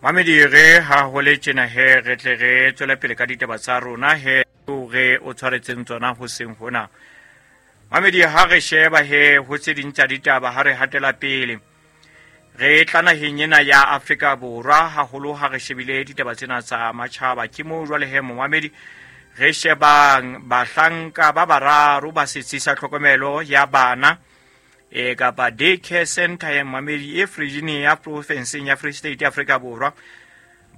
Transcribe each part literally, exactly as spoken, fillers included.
Mamedi, re ha ho le tjena he, re tle re tswele pele ka ditaba tsa rona he re o tshwaretseng tsona hoseng hona. Mamedi, ha re sheba he ho tse ding tsa ditaba, ha re hatela pele re tla naheng ena ya Afrika Borwa, haholo ha re shebile ditaba tsena tsa matjhaba. Ke moo jwale he, momamedi, re shebang bahlanka ba bararo ba setsi sa tlhokomelo ya bana e kapa daycare center ya mamedi e Virginia provinseng ya Free State ya Afrika Borwa,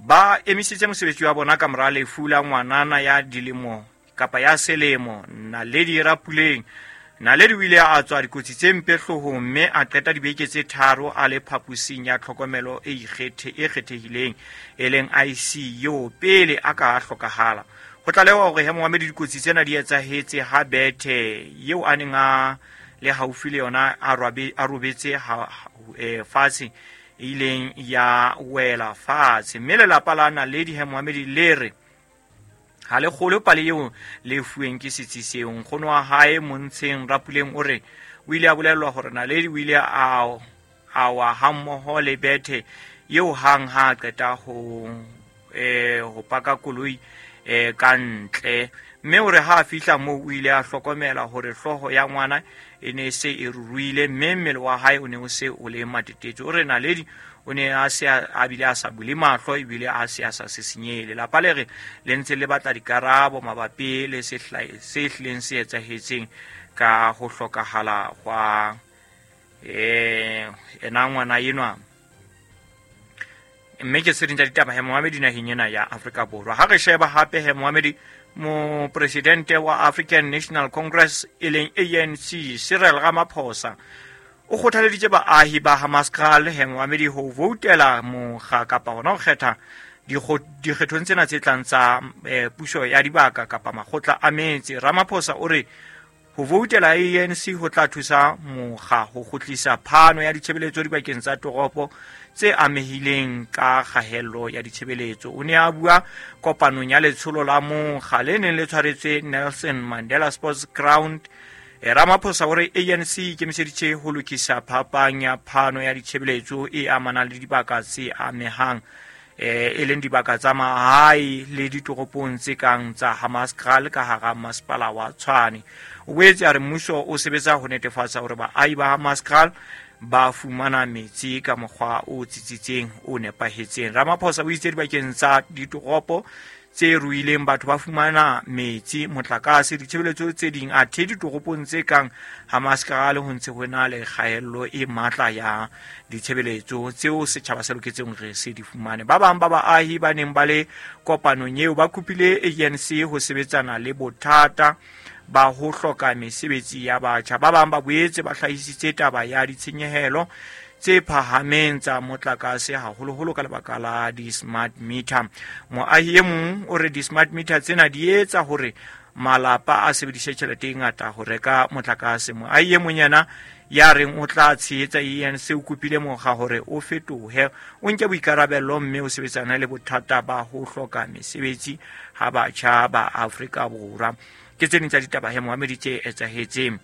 ba emisitse mosebetsi wa bona ka mora lefu la ngwanana ya dilemo kapa ya selemo, Naledi Rapuleng. Naledi o ile a tswa dikotsi tse mpe hloohong mme a qeta dibeke tse tharo a le phaposing ya tlhokomelo e ikgethe e kgethehileng e leng I C U pele a ka hlokahala. Ho tlalewa hore he, momamedi, dikotsi tsena di etsahetse ha bethe eo a neng a le haufi le yona a robetse e, fatshe e ileng ya wela fatshe, mme lelapa la Naledi he, momamedi, le re ha le kgolwe pale eo le fuweng ke setsi seo. Nkgono wa hae, Montsheng Rapuleng, o re o ile a bolellwa hore Naledi o ile a a wa hammoho le bethe eo hang ha a qeta ho eh ho paka koloi eh ka ntle, mme o re ha a fihla moo o ile a hlokomela hore hlooho ya ngwana e ne se e ruruile mme mmele wa hae o ne o se o le matetetso. O re Naledi o ne a se a bile a sa bule mahlo ebile a se a sa sisinyehe. Lelapa le re le ntse le batla dikarabo mabapi le se hlileng se etsahetseng ka ho hlokahala hwa eh ena ngwana enwa. Mme ke tse ding tsa ditaba he, momamedi, naheng ena ya Afrika Borwa. Ha re sheba hape he, momamedi, mopresidente wa African National Congress e leng A N C, Cyril Ramaphosa, o kgothaleditse baahi ba Hammanskraal he, momamedi, ho voutela mokga kapa hona ho kgetha dikgethong tsena tse tlang tsa eh, puso ya dibaka kapa makgotla a metse. Ramaphosa o re ho voutela A N C ho tla thusa mokga ho kgutlisa phano ya ditshebeletso dibakeng tsa toropo tse amehileng ka kgahello ya ditshebeletso. O ne a bua kopanong ya letsholo la mokga le neng le tshwaretswe Nelson Mandela Sports Ground. e Ramaphosa o re A N C e ikemiseditse ho lokisa phapang ya phano ya ditshebeletso e amanang le dibaka tse amehang, eh e leng dibaka tsa mahae le ditoropong tse kang tsa Hammanskraal ka hara masepala wa Tshwane. O boetse a re mmuso o sebetsa ho netefatsa hore baahi ba Hammanskraal ba fumana metsi ka mokgwa o tsitsitseng, o nepahetseng. Ramaphosa o itse dibakeng tsa ditoropo tse ruileng batho ba fumana metsi, motlakase, ditshebeletso tse ding, athe ditoropong tse kang Hammanskraal ho ntse ho na le kgaello e matla ya ditshebeletso tseo setjhaba se loketseng re se di fumane. Ba bang ba baahi ba neng ba le kopanong eo ba kopile A N C ho sebetsana le bothata ba ho hloka mesebetsi ya batjha. Ba bang ba boetse ba hlahisitse taba ya ditshenyehelo tse phahameng tsa motlakase, haholoholo ka lebaka la di-smart meter. Moahi e mong o re di-smart meter tsena di etsa hore malapa a sebedise tjhelete e ngata ho reka motlakase. Moahi e mong yena ya reng o tla tshehetsa A N C o kopile mokga hore o fetohe, o nke boikarabello mme o sebetsane le bothata ba ho hloka mesebetsi ha batjha ba Afrika Borwa. Ke tse ding tsa ditaba he, momamedi, tse etsahetseng.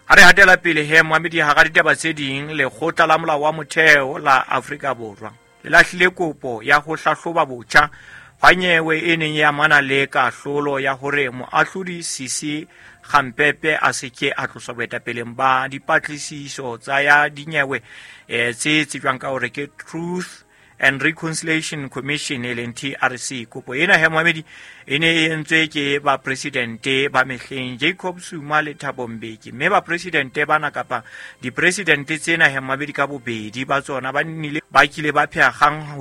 Ha re hatela pele he, momamedi, hara ditaba tse ding, lekgotla la molao wa motheo la Afrika Borwa le lahlile kopo ya ho hlahloba botjha hwa nyewe e neng e amana le kahlolo ya hore moahlodi Sisi Khampepe a se ke a tloswa boetapeleng ba dipatlisiso tsa ya dinyewe eh, tse tsejwang ka hore ke Truth and Reconciliation Commission e leng T R C. Kopo ena he, momamedi, e ne e entswe ke bapresidente ba mehleng Jacob Zuma le Thabo Mbeki, mme bapresidente bana kapa dipresidente tsena he, momamedi, ka bobedi ba tsona ba nnile ba kile ba pheha kgang.